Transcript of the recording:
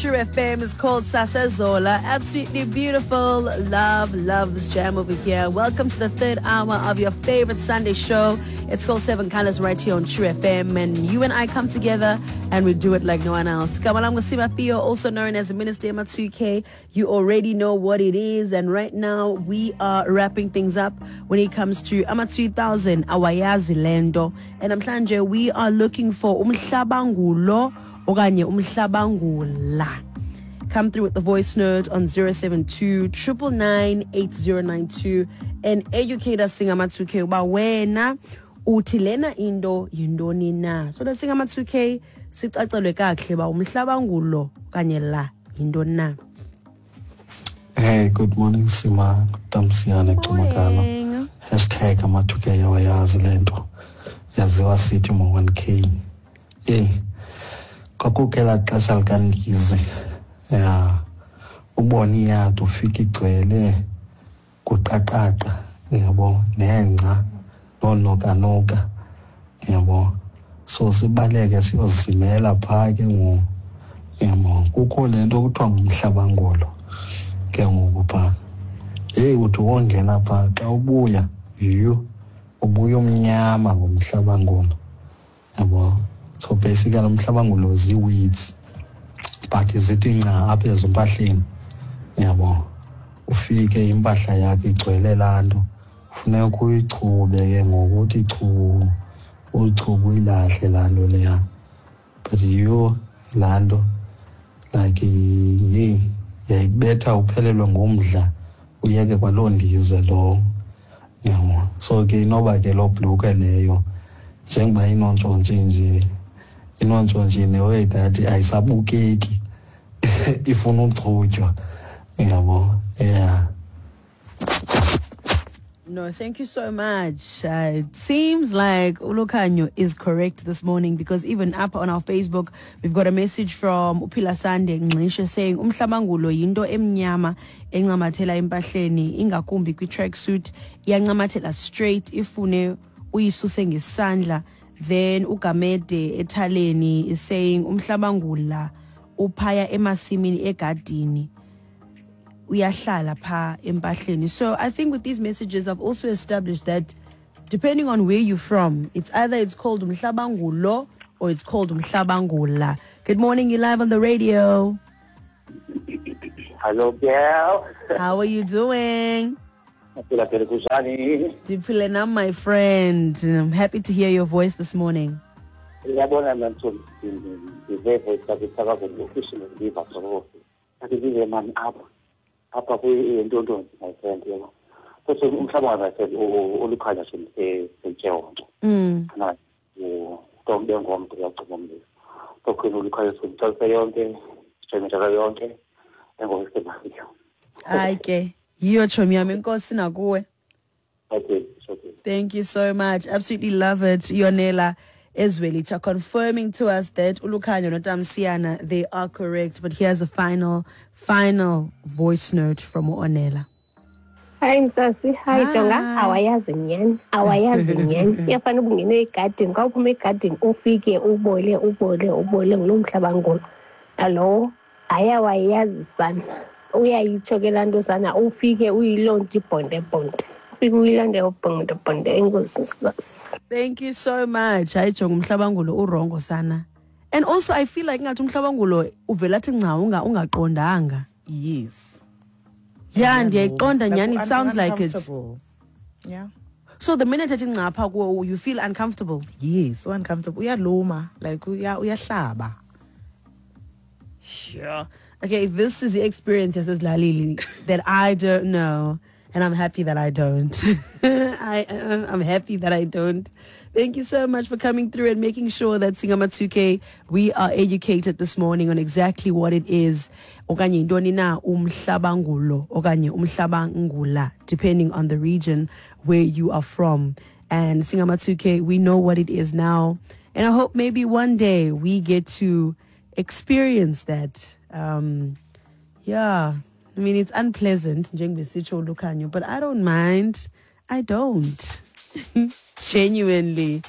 True FM is called Sasazola. Absolutely beautiful. Love, love this jam over here. Welcome to the third hour of your favorite Sunday show. It's called Seven Colors right here on True FM. And you and I come together and we do it like no one else. Kamalango Simapio, also known as the Minister Matsuke. You already know what it is. And right now we are wrapping things up when it comes to Ama 2000, Awayazi Lendo. And namhlanje we are looking for umhlabangulo okanye umhlabangula. Come through with the voice note on 072 999 8092 and educate us singama 2K uba wena uthi lena into yintoni na, so that singama 2K sicacelwe kakuhle uba umhlabangulo okanye la yintoni na. Hey, good morning, Sima. Tamsiyane Cumakala. Morning. #ama2K yawayazi le nto. Yaziwa sithi mo-1K. Eyi, kwakukho elaa xesha likandize. Ya, ubone iyadi ufike igcwele kuqaqaqa, uyabo, nengca, noonokanuka, uyabo. So sibaleke siyozimela phaa ke ngoku, uyabo. Kukho le nto kuthiwa ngumhlabangulo ke ngoku phaa. Heyi, uthi wongena phaa xa ubuya, yhu, ubuya umnyama ngumhlabangulo, yabo. So basically umhlabangulo zii-weeds, but zithi nca apha ezimpahleni, yabo. Ufike impahla yakho igcwele laa nto, funeka uyichube ke ngoku, uthi chu, uyichube uyilahle laa nto leya. But yho, laa nto like yeyi yayikubetha uphelelwe ngumdla, uyeke kwaloo ndize lowo, yabo. So ke inoba ke loo bhlukhwe leyo njengoba inontshontshe nje, inontshontshe in a way that ayisabukeki, ifuna uchutywa, yabo. Yeah. No, thank you so much. It seems like Ulukanyo is correct this morning, because even up on our Facebook, we've got a message from Upila Sande Ngxishe saying, Umhlabangulo yinto emnyama encamathela empahleni, ingakumbi kwi-tracksuit, iyancamathela straight, ifune uyisuse ngesandla. Then uGamede ethaleni is saying, Umhlabangula uphaya emasimini egadini, uyahlala pha empahleni. So I think with these messages, I've also established that depending on where you're from, it's either it's called umhlabangulo or it's called umhlabangula. Good morning, you're live on the radio. Hello, girl. How are you doing? Ndiphila phela, kunjani? Ndiphile nam, my friend. I'm happy to hear your voice this morning. Uyabona mna Mthombo, ndive voice yakho isakazweni officially, ndiva so. Athi ndive mani apha kwintontoni, my friend, yabo. Kodwa umhlaba, my friend, olukhanya sentshewonto. Kana utombe ngomntu uyagcuma umlilo. Tokhwini olukhanya sentshewonto yonke, sentshewonto yonke, engokusebenzayo. Hayi ke, yiyo tshomi yam, enkosi nakuwe. Okay, okay. Thank you so much. Absolutely love it. Yonela Ezwelitsha confirming to us that Ulukhanyo noTamsiana, they are correct. But here's a final, final voice note from Onela. Hi Msasi, hi Jonga, Hi. awayazi nyani, awayazi nyani. Iyafana uba ungene egadini, xa uphuma egadini ufike ubole, ubole, ubole ngulo mhlabangulo. Nalowo ayawayazi sana. Uyayitsho ke laa nto sana, ufike uyiloo nto ibhonde-bhonde. Ufike uyiloo nto ebhonde-bhonde. Enkosi Msasi. Thank you so much. Hayi Jonga, umhlabangulo urongo sana. And also I feel like ngathi umhlabangulo uvela athi nca ungaqondanga. Yes. Yeah, ndiyayiqonda Like, nyani, it sounds like it. Uncomfortable. Yeah. So the minute ethi nca pha kuwe, you feel uncomfortable. Yes, so uncomfortable. Uyaluma, like uyahlaba. Sure. Okay, this is the experience yasezilalini that I don't know, and I'm happy that I don't. I'm happy that I don't. Thank you so much for coming through and making sure that Singama 2K, we are educated this morning on exactly what it is. Okanye yintoni na umhlabangulo, okanye umhlabangula, depending on the region where you are from. And Singama 2K, we know what it is now. And I hope maybe one day we get to experience that. Yeah, it's unpleasant, njengoba Lukhanyo, but I don't mind. I don't. Genuinely.